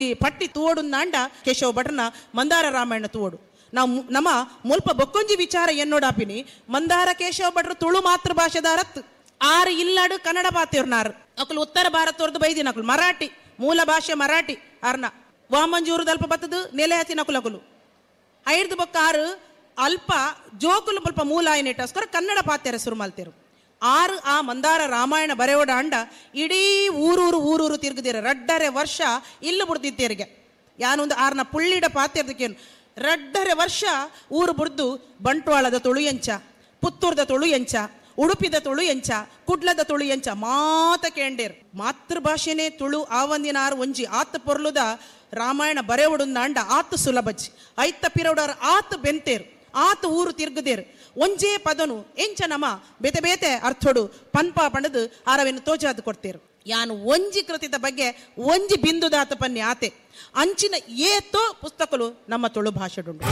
ಈ ಪಟ್ಟಿ ತೂವೊಡುಂದಾಂಡ ಕೇಶವ ಭಟ್ರನ ಮಂದಾರ ರಾಮಾಯಣ ತೂವೊಡು. ನಾವು ನಮ್ಮ ಮುಲ್ಪ ಬೊಕ್ಕೊಂಜಿ ವಿಚಾರ ಎನ್ನೋಡಾಪಿನಿ, ಮಂದಾರ ಕೇಶವ ಭಟ್ರು ತುಳು ಮಾತೃಭಾಷೆದಾರತ್. ಆರು ಇಲ್ಲಾಡು ಕನ್ನಡ ಪಾತೆರ್ನಾರು. ಅಕುಲು ಉತ್ತರ ಭಾರತದವ್ರದ್ದು ಬೈದಿನಕುಲು, ಮರಾಠಿ ಮೂಲ ಭಾಷೆ ಮರಾಠಿ. ಅರ್ನ ವಾಮಂಜೂರು ದಲ್ಪ ಬತ್ತದು ನೆಲೆ ಹತ್ತಿನಕುಲಕುಲು ಐರ್ದು ಬೊಕ್ಕ ಆರು ಅಲ್ಪ ಜೋಕುಲು ಸ್ವಲ್ಪ ಮೂಲ ಆಯ್ನೆಟೋಸ್ಕರ ಕನ್ನಡ ಪಾತೆರ ಶುರು ಮಲ್ತೇರು. ಆರು ಆ ಮಂದಾರ ರಾಮಾಯಣ ಬರೆಯೋಡ ಅಂಡ ಇಡೀ ಊರೂರು ಊರೂರು ತಿರುಗುದಿರ ರಡ್ಡರೆ ವರ್ಷ ಇಲ್ಲು ಬುಡ್ದಿತ್ತೇರಿಗೆ. ಯಾನೊಂದು ಆರ್ನ ಪುಳ್ಳಿಡ ಪಾತೆರ್ದಕ್ಕೇನು ರಡ್ಡರೆ ವರ್ಷ ಊರು ಬುಡ್ದು ಬಂಟ್ವಾಳದ ತುಳು ಎಂಚ, ಪುತ್ತೂರ್ದ ತುಳು ಎಂಚ, ಉಡುಪಿದ ತುಳು ಎಂಚ, ಕುಡ್ಲದ ತುಳು ಎಂಚ ಮಾತ ಕೇಂಡೇರ್. ಮಾತೃಭಾಷೆನೇ ತುಳು ಆವಂದಿನ ಆರು ಒಂಜಿ ಆತ್ ಪೊರ್ಲುದ ರಾಮಾಯಣ ಬರೆವಡುಂದಾಂಡ ಆತ್ ಸುಲಭಜಿ. ಐತ ಪಿರೌಡಾರ್ ಆತ್ ಬೆಂತೇರ್, ಆತ್ ಊರು ತಿರ್ಗುದೇರ್. ಒಂಜೇ ಪದನು ಎಂಚ ನಮ ಬೇತೆ ಬೇತೆ ಅರ್ಥೋಡು ಪನ್ಪ ಪಂಡದು ಆರವೆನ್ನು ತೋಜಾದ್ ಕೊಡ್ತೇರು. ಯಾನು ಒಂಜಿ ಕೃತಿದ ಬಗ್ಗೆ ಒಂಜಿ ಬಿಂದುದಾತ ಪನ್ನಿ ಆತೆ ಅಂಚಿನ ಏತೋ ಪುಸ್ತಕಲು ನಮ್ಮ ತುಳು ಭಾಷೆಡುಂಡು.